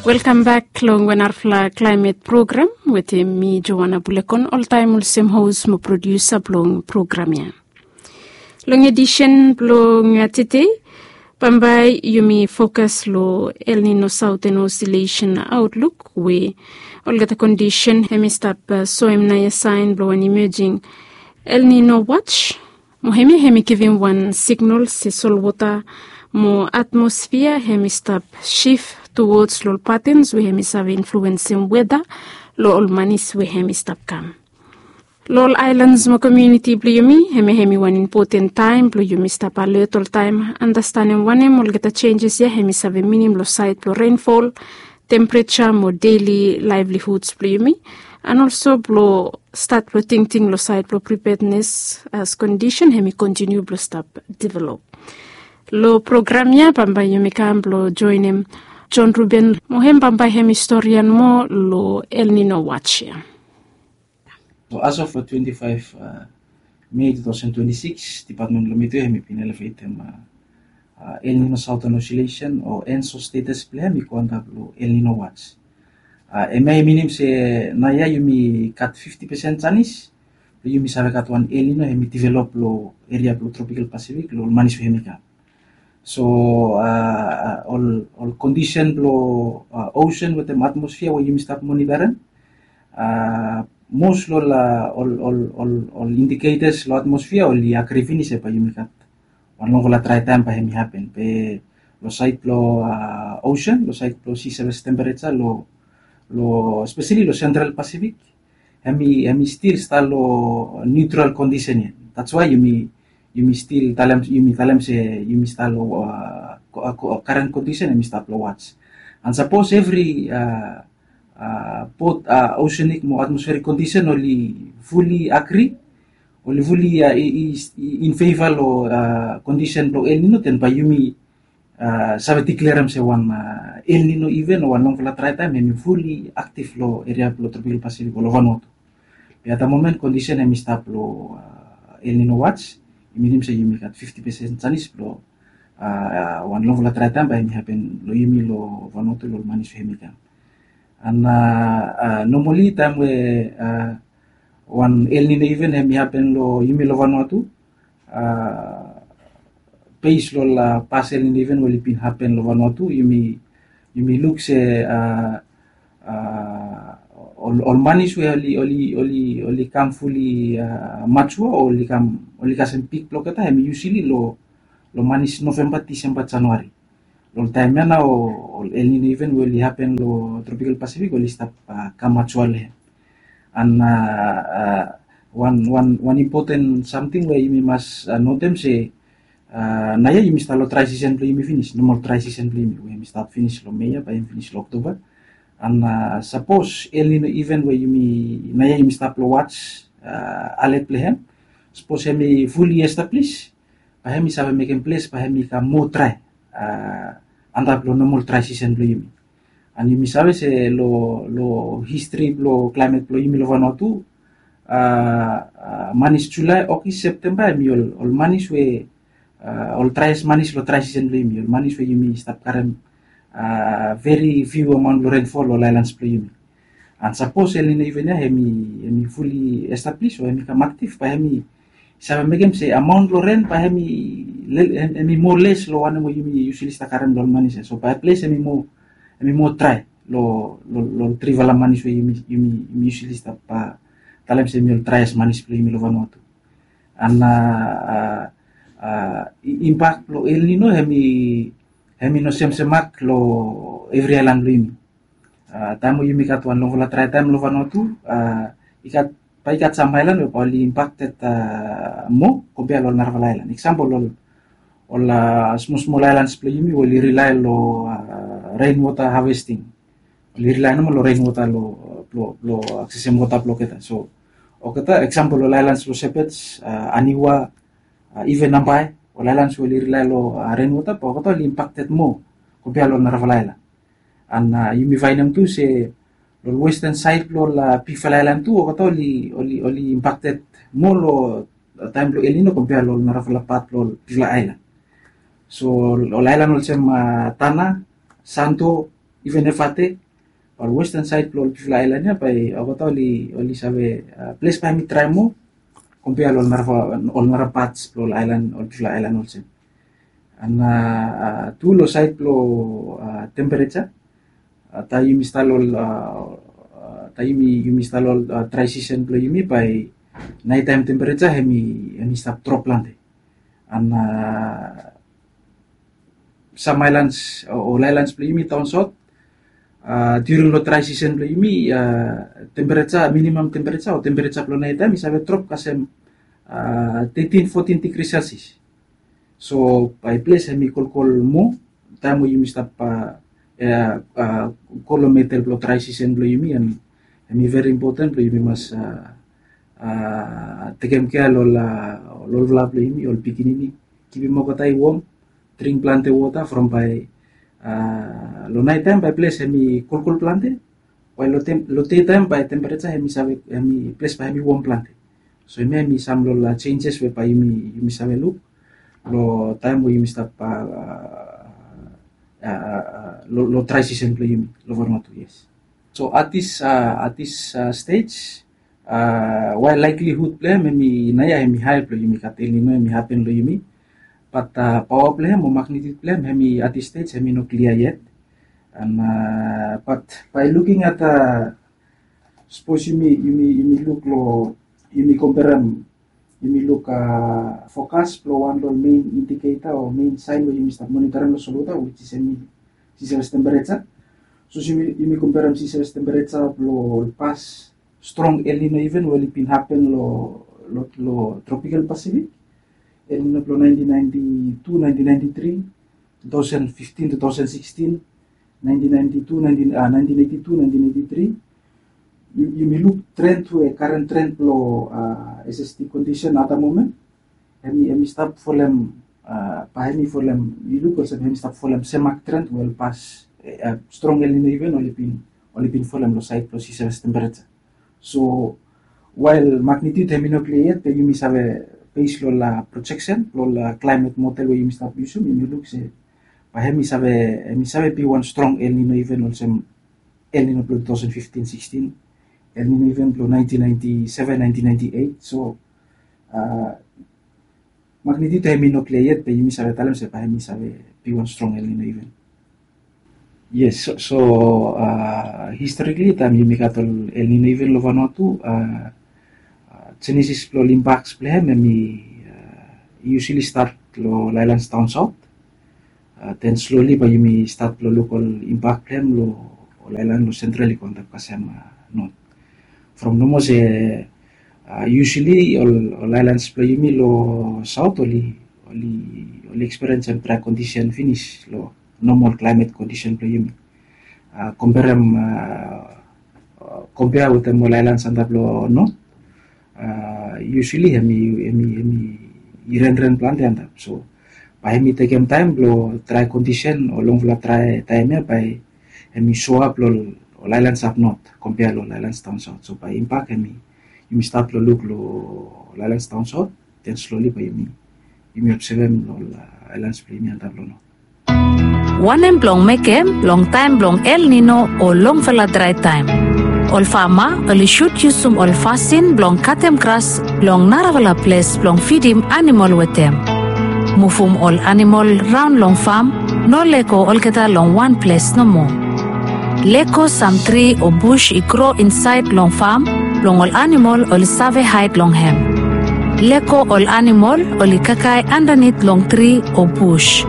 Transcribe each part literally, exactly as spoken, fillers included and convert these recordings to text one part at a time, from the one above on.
Welkam bek long wan narafala klaimet program wetem mi, Joana Bulekon, oltaem olsem hos mo produsa blong program ya. Long edisen blong tede, bambae yumi fokas long El Nino Southern Oscillation Outlook, we olgeta kondisen hemi stap soem naoia saen blong wan imejing El Nino watch. Mo hemia hemi givim wan signal se solwota mo atmosfia hemi stap sif towards long ol patens we hemi save influensem weda long ol manis we hemi stap kam. Long ol aelans mo komuniti blong yumi, hemia hemi wan impoten taem blong yumi stap alet oltaem, andastanem wanem olgeta senjes ya hemi save minim long saed blong renfol, tempereja mo deli laevlihuds blong yumi, and olso blong stat blong tingting long saed blong pripednes as kondisen hemi kontiniu blong stap develop. Long program ya bambae yumi kam blong joenem John Ruben, mo hem bambae hemi storian moa long El Nino watch ya. So as of twenty-five May two thousand twenty-six, dipatmen blong mi tu hemi bin elevetem El Nino Southern Oscillation o ENSO status blong hem i go antap long El Nino watch. Hemia i minim se naoia yumi gat fifti pesen janis blong yumi save gat wan El Nino hemi develop long eria blong Tropical Pacific long ol manis we hemi kam. So ol kondisen blong osen wetem atmosfia we yumi stap monitarem, mos long ol indiketas long atmosfia oli agri finis se bae yumi gat wan longfala drae taem bae hemi hapen. Be long saed blong osen, long saed blong si seves tempereja long, espeseli long Central Pacific, hemi stil stap long niutral kondisen ya. That's why yumi stil talem, yumi talem se yumi stap long karen kondisen, hemi stap long watch. And sapos evri bot osenik mo atmosferik kondisen oli fuli agri, oli fuli in feva long kondisen blong El Nino, den bae yumi save diklerem se wan El Nino iven o wan longfala drae taem hemi fuli aktiv long eria blong Tropical Pacific o long Vanuatu. Be at the moment kondisen hemi stap long El Nino watch, i minim se yumi gat fifti pesen janis blong wan longfala drae taem bae hemi hapen long yumi long Vanuatu long ol manis we hemi kam. And normali taem we wan El Nino iven hemi hapen long yumi long Vanuatu, bes long ol pas El Nino iven we oli bin hapen long Vanuatu, yumi luk se ol manis we oli kam fuli majua o oli kasem pik blong olgeta, hemi yusali long manis Novemba, Disemba, Januari. Long taem ya nao ol El Nino iven we oli hapen long Tropical Pacific oli stap kam majua long hem. And wan impoten samting we yumi mas notem se naoia yumi stap long drae sisen blong yumi finis, nomal drae sisen blong yumi we yumi stap finis long Mei ya bae yumi finis long Oktoba. And sapos El Nino iven we yumi naoia yumi stap long watch, alet blong hem, sapos hemi fuli establis, bae hemi save mekem ples bae hemi kam moa drae antap long nomal drae sisen blong yumi. And yumi save se long histri blong klaimet blong yumi long Vanuatu, manis Julae, Ogis, Septemba hemi ol manis we ol draes manis long drae sisen blong yumi, ol manis we yumi stap karem veri fiu amaon blong renfol long ol aelans blong yumi. And sapos El Nino iven ya hemi fuli establis o hemi kam aktiv, bae hemi save mekem se amaon blong ren bae hemi moa les long wanem we yumi yusali stap karem long ol manis ya. So bae ples hemi moa drae long ol trifala manis we yumi yusali stap talem se hemi ol draes manis blong yumi long Vanuatu. And impak blong El Nino hemi no semsem mak long evri aelan blong yumi. Taem we yumi gat wan longfala drae taem long Vanuatu, i gat, bae i gat sam aelan we bae oli impakted moa kompea long ol narafala aelan. Eksampol, ol smosmol aelans blong yumi we oli rilae long rainwater harvesting. Oli rilae nomo long rainwater blong aksesem wota blong olgeta. So olgeta, eksampol, ol aelans long Shepherd's, Aniwa, iven Nambae, ol aelans we oli rilae long rainwater, bae olgeta oli impakted moa kompea long ol narafala aelan. And yumi faenem tu se long western saed blong ol bigfala aelan tu olgeta oli impakted moa long taem blong El Nino kompea long ol narafala pat blong ol bigfala aelan. So ol aelan olsem Tanna, Santo, Even efate, ol western saed blong ol bigfala aelan ya bae olgeta oli save ples bae hemi drae moa kompea long ol nara pats blong ol aelan, ol bigfala aelan olsem. An tu long saed blong tempereja, taem yumi stap long taem yumi stap long drae sisen blong yumi, bae naetaem tempereja hemi stap drop plante. An sam aelans o ol aelans blong yumi daon saot, during long drae sisen blong yumi, tempereja, minimam tempereja o tempereja blong naetaem i save drop kasem tetin fotin digri selsias. So bae ples hemi kolkol moa taem we yumi stap go long medel blong drae sisen blong yumi. An hemi veri impoten blong yumi mas tekem kea long ol olfala blong yumi, ol pikinini, kipim olgeta i wom, dring plante wota from bae long naetaem bae ples hemi kolkol plante. Wael long dei taem bae tempereja hemi save, hemi ples bae hemi wom plante. So hemia hemi sam long ol jenjes we bae yumi save luk long taem we yumi stap long drae sisen blong yumi long Vanuatu. Yes. So at this at this stej, wael laeklihud blong hem hemi naoia hemi hae blong yumi gat El Nino hemi hapen long yumi, bat paoa blong hem o magnitut blong hem hemi at this stej hemi no klia yet. An bat bae luking at, sapos yumi luk long, yumi komperem, yumi luk fokas blong wan long ol mein indiketa o mein saen we yumi stap monitorem long solwota, which is hemi seashells tempereja. Sapos yumi komperem seashells tempereja blong ol pas strong El Nino event we oli bin hapen long tropical Pacific, El Nino blong naentin naenti tu, naentin naenti tri, tu taosen fiftin, tu taosen sikistin, naentin naenti tu, naentin eti tu, naentin eti tri. Yumi luk tren we karen tren blong SST kondisen at the moment, hemi stap folem, bae hemi folem, yu luk olsem hemi stap folem semak tren we ol pas strong El Nino event oli bin folem long saed blong seashells tempereja. So wael magnitut hemi no klia yet, be yumi save bes long ol projeksen blong ol klaemet model we yumi stap yusum, yumi luk se bae hemi save, hemi save bi wan strong El Nino event olsem El Nino blong tu taosen fiftin sikistin, El Nino event blong naentin naenti seven, naentin naenti eit. So magnitut hemi no klia yet, be yumi save talem se bae hemi save bi wan strong El Nino event. Yes. So historikali taem yumi gat ol El Nino event long Vanuatu, jenesis blong ol impaks blong hem hemi yusali stat long ol aelans daon saot. Den sloli bae yumi stat blong luk ol impak blong hem long ol aelan long sentral i go antap kasem not. From nomo se yusali ol aelans blong yumi long saot oli eksperiensem drae kondisen finis long nomal klaemet kondisen blong yumi. Komperem, kompea wetem ol aelans antap long not, yusali hemi renren plante antap. So bae hemi tekem taem blong drae kondisen o longfala drae taem ya bae hemi soap long ol aelans ap not kompea long ol aelans daon saot. So bae impak hemi, yumi stat blong luk long ol aelans daon saot, den sloli bae yumi obsevem long ol aelans blong yumi antap long not. Wanem blong mekem long taem blong El Nino o longfala drae taem? Ol fama oli sud yusum ol fasin blong katem gras long narafala ples blong fidim anamol wetem. Muvum ol anamol raon long fam, no lego olgeta long wan ples nomo. Lego sam tri o bus i gro insaed long fam blong ol anamol oli save haed long hem. Lego ol anamol oli kakae andanit long tri o bus.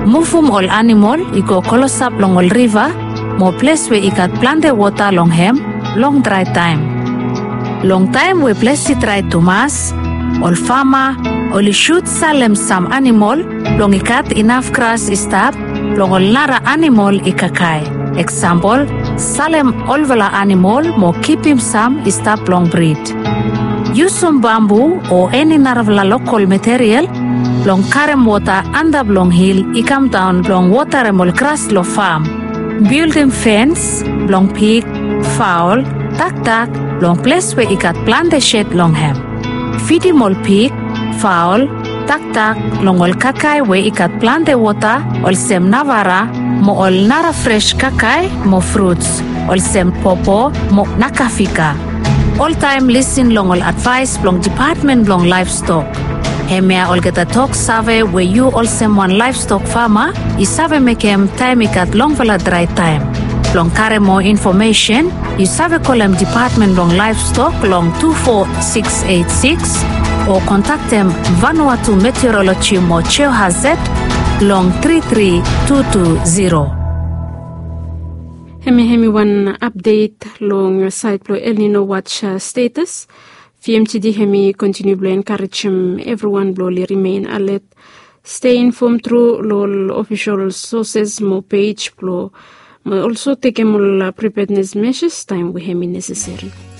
Muvum ol anamol i go klosap long ol riva mo ples we i gat plante wota long hem long drae taem. Long taem we ples i drae tumas, ol fama oli sud salem sam anamol blong i gat inaf gras i stap blong ol nara anamol i kakae. Eksampol, salem olfala anamol mo kipim sam i stap blong brid. Yusum bambu o eni narafala lokol material blong karem wota antap long hil i kamdaon blong wotarem ol gras long fam. Bildim fens blong pig, faol, dakdak long ples we i gat plante sed long hem. Fidim ol pig, faol, Taktak long ol kakae we i gat plante wota, olsem navara, mo ol nara fres kakae mo fruts, olsem popo mo nakafika. Oltaem lisin long ol advaes blong depatmen blong laevstok. Hemia olgeta tok save we yu olsem wan laevstok fama i save mekem taem i gat longfala drae taem. Blong karem moa infomesen, yu save kolem depatmen blong laevstok long tu fo siks eit siks, o kontaktem Vanuatu Meteoroloji mo Geohazard long tri tri tu tu zero. Hemi hemi wan apdet long saed blong El Nino watch status. Fiemtidi hemi kontiniu blong enkarejem evriwan blong oli rimen alet. Stei infom tru long ol ofisol soses mo pej blong, mo olso tekem ol pripednes meses taem we hemi neseseri.